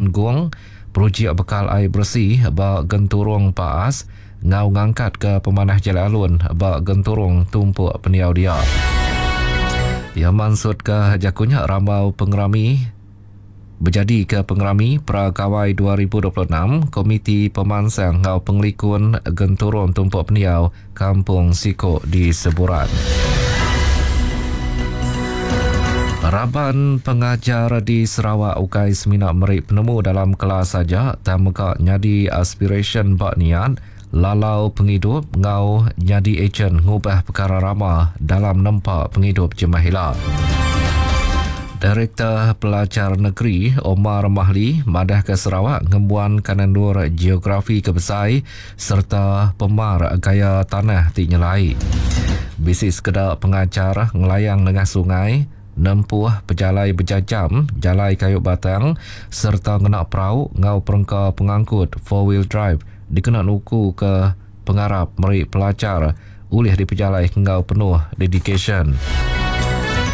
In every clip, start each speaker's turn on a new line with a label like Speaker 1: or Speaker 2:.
Speaker 1: Jematan Gong, projek bekal ai beresi ba Genturung Paas enggau ngangkatka pemanah jalai alun ba genturung tumpuk pendiau dia. Iya mansutka jaku nya rambau pengerami bejadika Pengerami Pra Gawai 2026 Komiti Pemansang enggau Pengelikun Genturung Tumpuk Pendiau Kampung Siko di Seburan. Raban pengajar di Sarawak ukai semina meri penemu dalam kelas aja tang mega nyadi aspirasyen ba niat, lalau pengidup enggau nyadi ejen ngubah pekara rama dalam nempa pengidup jemah ila. Direktor Pelajar Negeri Omar Mahli madahka Sarawak ngembuan kandang endur geografi ke besai sereta pemar gaya tanah ti nyelai. Bisi sekeda pengajar ngelayang nengah sungai, nempuh pejalai bejajam jalai kayu batang sereta ngena perau enggau perengka pengangkut four-wheel drive dikena nukuka pengarap meri pelajar ulih dipejalai enggau penuh dedikasyen.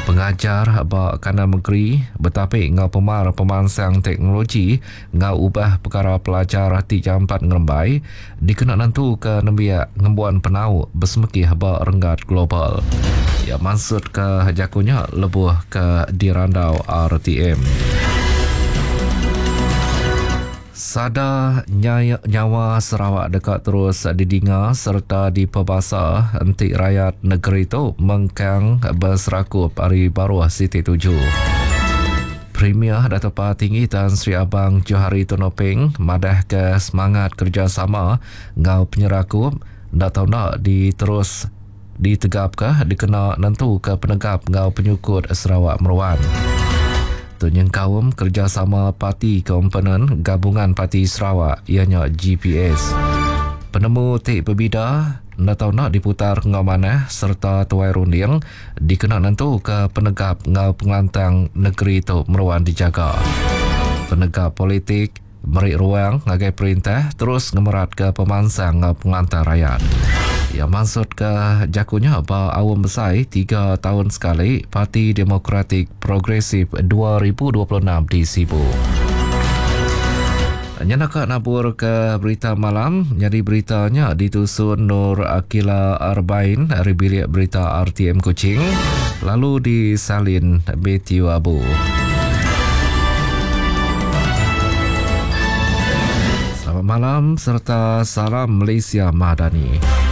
Speaker 1: Pengajar ba kandang mengeri betapi enggau pemar pemansang teknologi enggau ubah pekara pelajar ti jampat ngerembai dikena nentuka nembiak ngembuan penau besemekih ba renggat global. Iya mansutka jaku nya lebuh ke dirandau RTM. Sada nyawa Sarawak deka terus didinga sereta dipebasa enti rayat negeri tu mengkang beserakup ari baruh siti tuju. Premier Datuk Patinggi Tan Sri Abang Johari Tun Openg madahka semangat kerejasama enggau penyerakup enda tau enda diterus ditegapka dikena nentuka penegap enggau penyukut Sarawak meruan. Tu nyengkaum kerejasama parti komponen Gabungan Parti Sarawak iya nya GPS. Penemu ti bebida enda tau enda diputar enggau manah sereta tuai runding dikena nentuka penegap enggau pengelantang negeri tu meruan dijaga. Penegap politik Meri ruang ngagai perintah terus ngemeratka pemansang enggau pengelantang rayat. Iya mansutka jaku nya ba Aum Besai Tiga Taun Sekali Parti Demokratik Progresif 2026 di Sibu. Nya naka naburka berita malam nyadi berita nya ditusun Nur Akila Arbain ari bilik berita RTM Kuching lalu disalin Matthew Abu. Selamat malam serta salam Malaysia Madani.